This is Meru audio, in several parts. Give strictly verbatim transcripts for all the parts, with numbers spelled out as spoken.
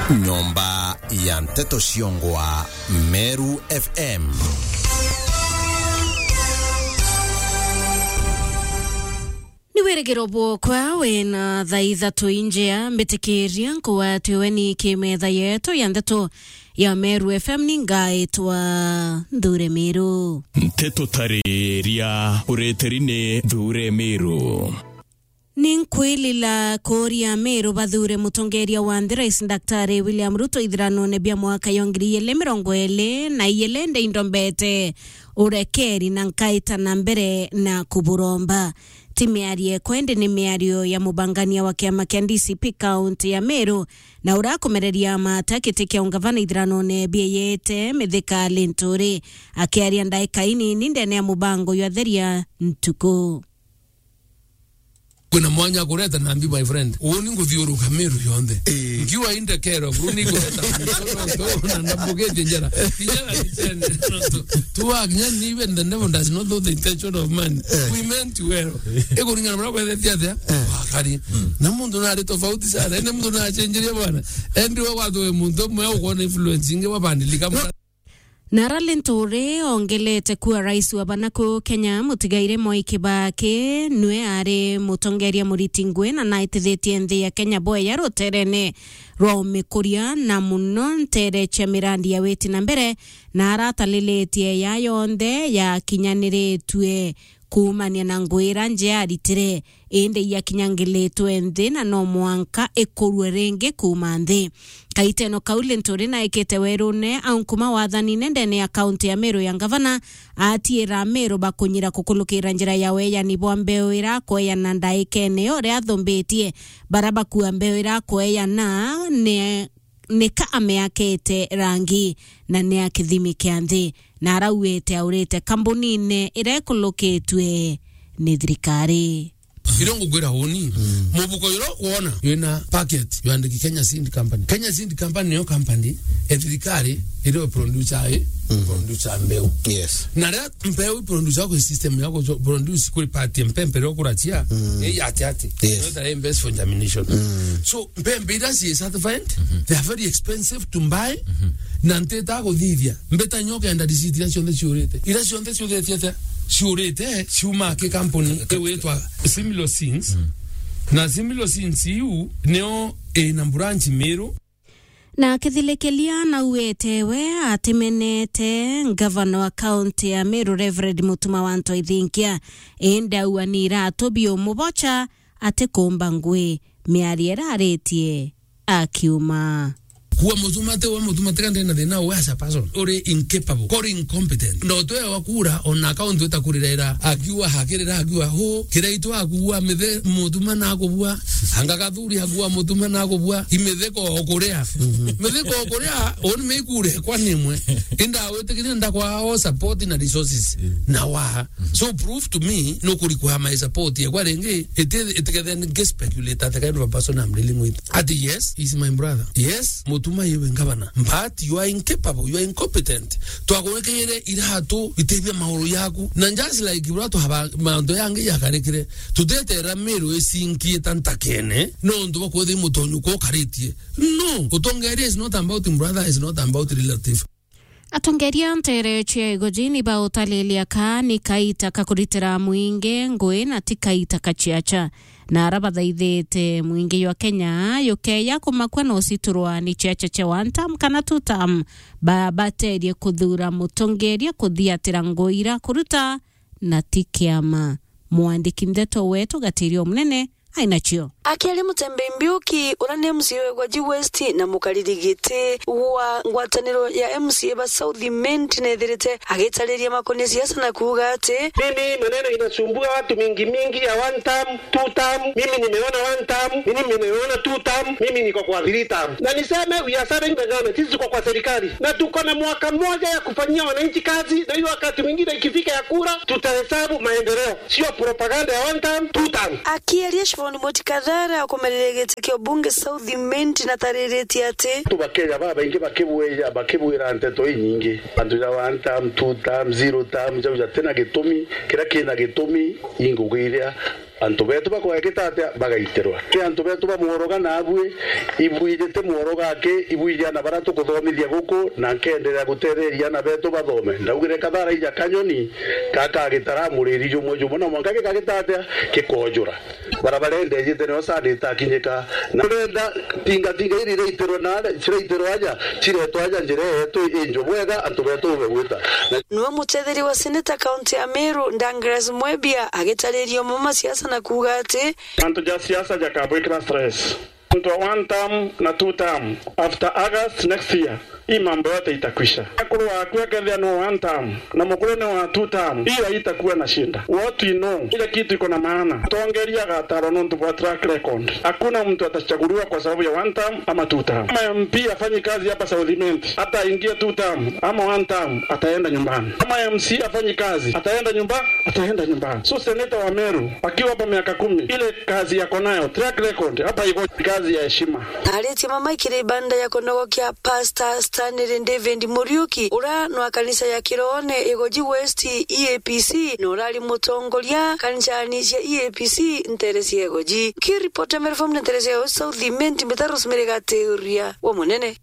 Nyomba ya nteto ciongwa Meru F M. Ni wirigiro bwokwa wina thaa ithatu injea, mbitikiria nkugwatiwe ni kimetha yetu ya nteto ya Meru F M, ni ngaitwa Nthure Miru. Nteto tariria ureteri ni Nthure Miru. Ni nkwilila kuuria Miru bathure mutongeria wa nthi, Rais Daktari William Ruto, ithiranone bia mwaka yo ngiri igiri mirongo iri na igiri, ndi indombete urekeri na nkaita na mbere na kuburomba. Ti miario ekwa, indi ni miario ya mubangania wa kiama kia D C P kaunti ya Meru, na urakumereria mata giti kia ungavana ithiranone bieyete Mithika Linturi. Akiaria ndaika inini ndene ya mubango jwa Theria Ntuku. Kwina mwanya kureta nambi, my friend. Uuni nguthiuruka Meru yonthe. Ii. Nkiwa indekero, bro, ni kureta na mbugetie njara. Njara ni chene. Tu, tu work, nyan, even the devil does not know the intention of man. Eh. We meant well. Ikuringana na uria kwethetie atia? Eh. Wakari. Mm. Na muntu nari tofauti sana. Ene muntu nachenjeria bwana. Endi we wathuwe muntu umwe ukwona influence ingi wabandilika. Na ara Linturi ongelete kuwa rais wa bana ku Kenya, mutigaire Mwai Kibaki, nwe ari mutongeria muriti ngui na naitithitie nthi ya Kenya bweya ruterene rwa umikuria, na muno ntere cia mirandi ya witi na mbere, na aratalilitie ya yonthe yakinyaniritue kuumania na ngui ira nje aritire, indi iakinyangilitwe nthi na no mwanka ikurue ringi kuuma nthi. Kaiteno kau Linturi naikite werune au nkuma wathanine ndene ya kaunti ya Meru ya ngavana, atiira Meru bakunyira kukulukira njira ya weyani bwa mbeu ira kweana ndaikene yo uria athumbitie. Bara bakua mbeu ira kweana ni ni ka ameakite rangi na ni a kithimi kia nthi, na arauite aurite kambunine iria ikulukitue ni thirikari. Irio ngukwira uni, mm, mubuko juria ukwona wina packet jwandiki Kenya Seed Company. Kenya Seed Company niyo company ya thirikari iria producer i, mm, producer mbeu. Yes. Na ria mbeu producer kwa system ya ku produce kuri party mpempe ria kurachia, mm, ni ya ati ati. Yes. Ndio invest for germination. Mm. So, mpembe iria ci certified, mhm, they are very expensive to buy, mhm, na ntita kuthithia. Mbita nyo kenda receipt iria cionthe ciurite. Iria cionthe ciuthetie atia? Ciurite, ciuma ki kampuni iu itwa Similo Seeds. Mm. Na Similo Seeds iu nio ina branch Meru. Na akithilikilia nauite we atimenete ngavana wa kaunti ya Meru, Reverend Mutuma wa Ntoithinkia, indi aua ni iratu biumubocha atikumba ngui, miario iraritie akiuma. Kuwa Mutuma ti we Mutuma, tiga ndena thina we as a person. Uri incapable, uri incompetent. Ndo twe wa kura, ona account utakurirera, akiwa hakirira, akiwa ho, kiraitu akuwa mithe Mutuma na akubua, anga gathuri akuwa Mutuma na akubua, imitheko okuria. Mhm. Mitheko okuria, on me kure kwa nimwe. Inda witikiria ndakwa o support na resources. Mm. Na wa. So prove to me, no kuri kwa my support ya kwa ringi, iti, itikethe nge speculate the kind of a person I'm dealing with. Ati yes, he's my brother. Yes, Mutuma iwe ngavana. But you are incapable, you are incompetent. Twakurekeire iratu itebia mauru yaku. Na just like bura tuhaba mantu yangi yakarikire. Tutetera Meru isinkie ta ntakene. No ntu bakwethi mutonyu ko karitie. No, utongeria is not about brother, is not about relative. Atongeria ntere cia Igoji ni bautalilia ka ni kaita ka kuritira mwingi ngui na ti kaita ka ciaca. Na ara bathaithite mwingi jwa Kenya jukeya kumakua no citurwa ni ciaca cia one term kana two term, ba-, baterie kuthura mutongeria kuthiatira ngui ira kuruta na ti kiama. Mwandiki ndeto wetu Gatirio Munene ainacio. Akiaria Mutembei Mbiuki, uria ni M C A wa Igoji West na mukariri giti wa ngwataniro ya M C A ba South Imenti, nethirite agitariria makonie siasa na kuuga ati, mimi maneno inasumbua watu mingi mingi ya one term, two term, mimi nimeona one term, mimi nimeona two term, mimi niko kwa three term. Na niseme, we are serving the government, sisi tuko kwa serikali na tuko na mwaka mmoja ya kufanyia wananchi kazi, na hiyo wakati mwingine ikifika ya kura tutahesabu maendeleo, sio propaganda ya one term, two term. Akiaria Ni Moti Kathara ukumerire giti kia ubunge South Imenti na tariritie ati antu ba Kenya babaingi bakibwija, bakibwira nteto inyingi. Antu ja one term, two term, zero term, jau jatina gitumi, kiria kina gitumi, ingugi iria antu betu bakwagita atia bagaitirwa. Ki antu betu ba Mworoga nabui, ibwijite Mworoga aki, ibwiji ana baria tukuthomithia guku, na nkenderea gutetheria ana betu bathome. Ndaugire Kathara ija kanyoni, gakagitara muriri jumwe jumwe, na mwanka gikagita atia, gikojura. Barabara ende ejite nio saa itakinyika. Na turenda tinga tinga iri iraitirwe na aria, ciraitirwe aja, ciretwe aja njira yetu injo bwega, antu betu ube gwita. Na niwe mutetheria wa seneta kaunti ya Meru, Douglas Mwebia, agitariria umwe masiasa na kuuga ati antu ja siasa jakabwikira stress. Antu a one term na two term, after August next year, hii mambo yote itakwisha. Akuru waku akethia ni wa one term, na mukuru ni wa two term, hiyo haitakuwa na shida. What we know, ile kitu iko na maana, tongeria gataro nontu bwa track record. Hakuna mtu atachaguliwa kwa sababu ya one term ama two term. Kama M P afanyi kazi hapa South Imenti, hata aingie two term ama one term, ataenda nyumbani. Kama M C afanyi kazi, ataenda nyumba, ataenda nyumbani. So senator wa Meru akiwa hapa miaka kumi, ile kazi yako nayo, track record, hapa iko kazi ya heshima. Aritie mama ikiri ibanda ya kunogokia, Pastor Stanley David Muriuki, ura nwa kanisa ya Kiroone Igoji West E A P C, na urari mutongoria kanisani cia E A P C ntere cia Igoji. Kiripota Meru Farm na ntere cia South Imenti, mbita Rosemary Gatiuria wa Munene.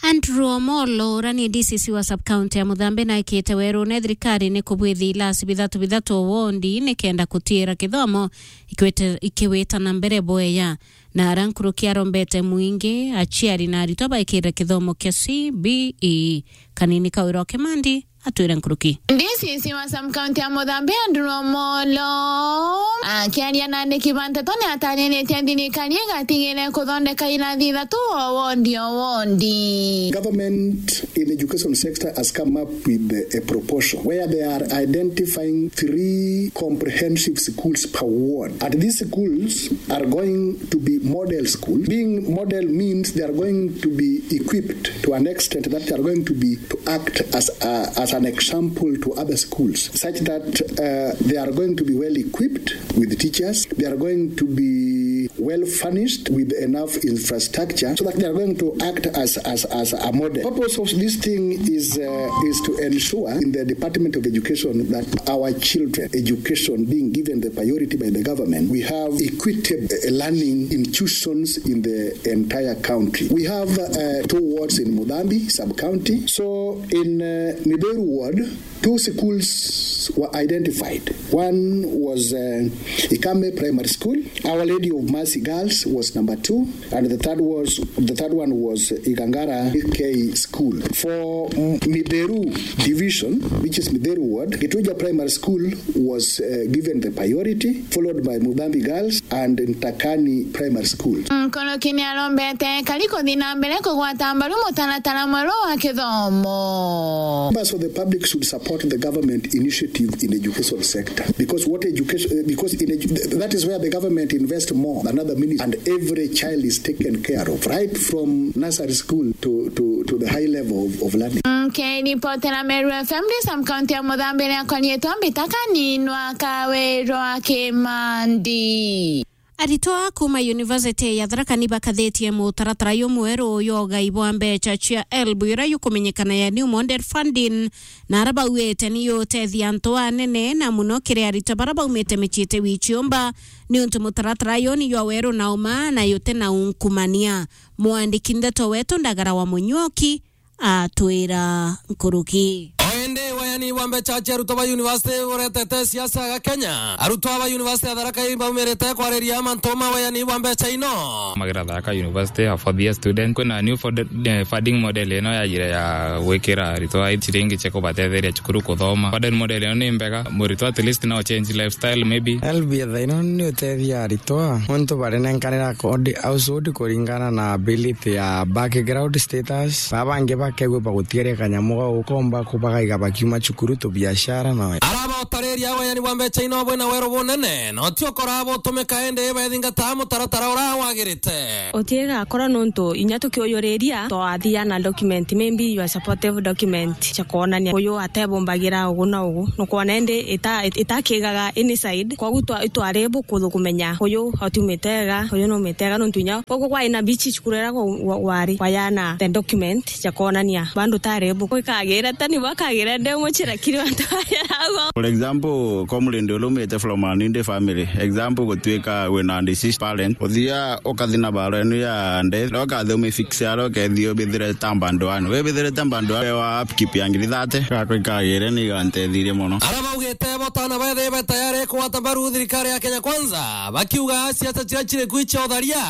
Andrew Omolo, ura ni D C C wa sub-county ya Muthambe, naikite werune thirikari ni kubwithia ilasi bithatu bithatu o wondi nikenda kutiira kithomo ikiwite-, ikiwita na mbere bweya. Na ara nkuruki arombete mwingi, aciari na aritwa baikire kithomo kia C B E. Kanini Kawira wa Kimandi atwire nkuruki. D C C wa sub-county ya Muthambe, Andrew Omolo, akiaria na andiki ba nteto, ni atariritie thirikari igatigire kuthondeka irathi ithatu o wondi o wondi. Government in education sector has come up with a proposal where they are identifying three comprehensive schools per ward. And these schools are going to be model schools. Being model means they are going to be equipped to an extent that they are going to be, to act as a, as an example to other schools, such that, uh, they are going to be well equipped with teachers. They are going to be well furnished with enough infrastructure so that they are going to act as, as, as a model. Purpose of this thing is, uh, is to ensure in the Department of Education that our children education being given the priority by the government, we have equitable, uh, learning institutions in the entire country. We have, uh, two wards in Muthambi sub-county. So in, uh, Miberu ward, two schools were identified. One was, uh, Ikame Primary School, Our Lady of Mercy Girls was number two, and the third was, the third one was Igangara K School. For, mm, Miberu Division, which is Miberu Ward, Gituja Primary School was, uh, given the priority, followed by Muthambi Girls and Ntakani Primary School. Nkuruki ni arombete kari kuthi na mbere kugwata mbaru mutaratara mweru wa kithomo. Members of the public should support the government initiative in education sector, because what education, uh, because in edu-, that is where the government invest more than other ministries, and every child is taken care of, right from nursery school to, to, to the high level of, of learning. Nkiripotera Meru F M ndi sub-county ya Muthambi, ria konyitwa mbita Kaninwa Kawirwa Kimandi. Aritwa kuuma University ya Tharaka Nithi bakathitie mutaratara jumweru jwa ugai bwa mbeca cia helb, uria jukumenyekana ya New Model Funding, na ara bauite ni jutethia antu anene, na muno kiri aritwa bara baumite micii iti wi ciumba, niuntu mutaratara juu ni jwa weru na uma na juti na unkumania. Mwandiki ndeto wetu Ndagara wa Munyuoki atwira nkuruki. O indi wayani bwa mbeca cia arutwo ba university buretete siasa ga Kenya. Arutwo ba university ya Tharaka Nithi baumirite kwariria mantu ma wayani bwa mbeca ino. Magira Tharaka University, a fourth year student. Kwina new fund-, eh, funding model ino yajire ya gwikira arutwo a ciringi cia kubatetheria cukuru kuthoma. Funding model ino ni mbega, muritwo at least no change lifestyle maybe. Helb ya thaa ino ni utethia arutwo, nontu barinenkanira household kuringana na ability ya background status. Baba bangi bakegua bagutiaria kanyamu gau ukomba kubagaiga bakiuma cukuru, tubiashara na araba utari Ria wayani bwa mbeca ino bwina weru bunene, na utio kora butumika indi bethingata mutaratara uria wagirite. Utigakora nontu inya tukiuyuriria, twathia na document, maybe your supportive document, cia kwonania uyu atebumbagira ugu na ugu. Nukwona indi ita-, ita-, itakigaga any side, koguo twa-, itwari buku kumenya uyu atumite ega, uyu numite ega, nontu inya ugu kwai na bichi cukuru iria wa-, wari, wayana the document cia kwonania bandu tari buku. Ikagira tani bakagira ndi muchira kiri antu aya. For example, comrade uria umite from an Indi family. Example, gutuika wina deceased parent. Uthia ukathi na baro enu ya death. Ria ukathi umifix aria ukethia ubithire ta band one. Wibithire ta band one wa upkeep ya ngiri thirty. Gakwa ikagire ni igantethirie mono. Ara baugite bo tana bethe be tayari kugwata mbaru thirikari ya Kenya Kwanza. Bakiuga siasa ciria ciri kwi cia utharia.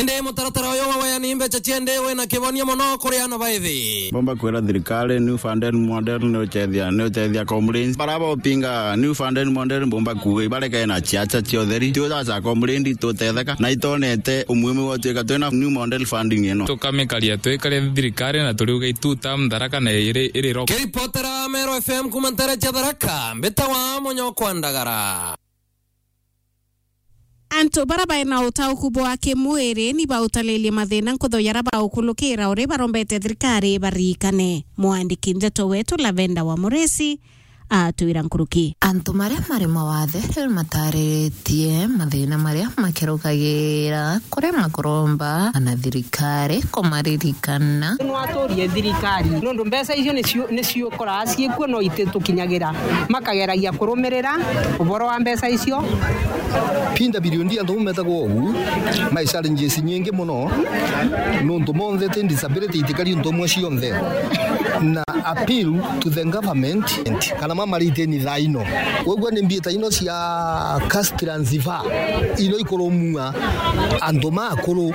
Indi mutaratara uyu wa wayani mbeca ciende wina kibonia mono kuri ana baithi. Bomba kwira thirikari, new funding model ni uchethia, ni uchethia comrades. Bara bopinga new funding model bomba kuuga ibareke na ciaca cia utheri. Ti ucaca comrade tutetheka. Na itonete umuhimu wa tuika twina new model funding ino. Tukamikaria twikare thirikari na turiuga itu term Tharaka na iri, iri ro. Kiripotera Meru F M kuma ntere cia Tharaka, mbitawa Munyokwa Ndagara. Antu bara baina utauku bwa kimwiri ni bautalilie mathina nkutho yara baukulukira uri barombete thirikari barikane. Mwandiki ndeto wetu Lavenda wa Muresi atwira nkuruki. Antu maria mari mawathe riu matariritie mathina maria makirukagira kurema kuromba na thirikari kumaririkana. Nwaturie thirikari nondu mbeca icio nicio, nicio koraa ciikuo no ititukinyagira. Makageragia kurumirira uboro wa mbeca icio. Pinda bilioni antu metagwo ugu, mai challenges nyingi muno, nontu monthe ti disability itikari untu umwe cionthe. Na appeal to the government, kana mama riteni thaa ino. Wegua ni mbieta ino cia cash transfer, ino ikurumua antu makuru.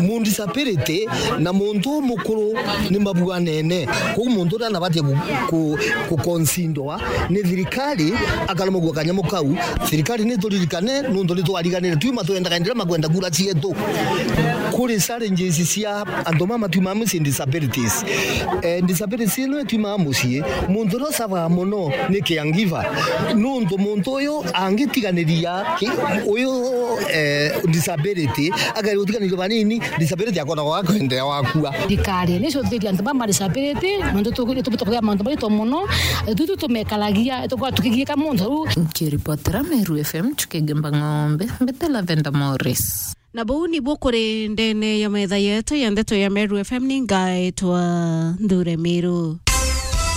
Mu disability na muntu mukuru ni mabuanene. Koguo muntu uria anabatie ku, ku, ku considerwa ni thirikari, akaremagua kanyamu kau. Thirikari ni turirikane, nontu ni twariganire. Tuma twendaga ndira makwenda kura cietu. Kuri challenges cia antu mama tuma mucii disabilities. Eh, disabilities ino ituma mucii, muntu uria usabaga muno ni caregiver. Nontu muntu uyu angitiganiria ki-, uyu, eh, disability, akaria gutiganirio banini, disability akona gwa kwenderea wakua. Thirikari ni cuthiria antu ba ma disability, mantu tu-, tu-, tukugia mantu maito muno, tu, tu, tumekaragia, tukorwa tukigiika muntu riu. Nkiripotera Meru F M, Chuki Gimba Ng'ombe, mbete Lavenda Morris. Na buu nibu kuri ndene ya metha yetu ya ndeto ya Meru F M, ni ngaitwa Nthure Miru.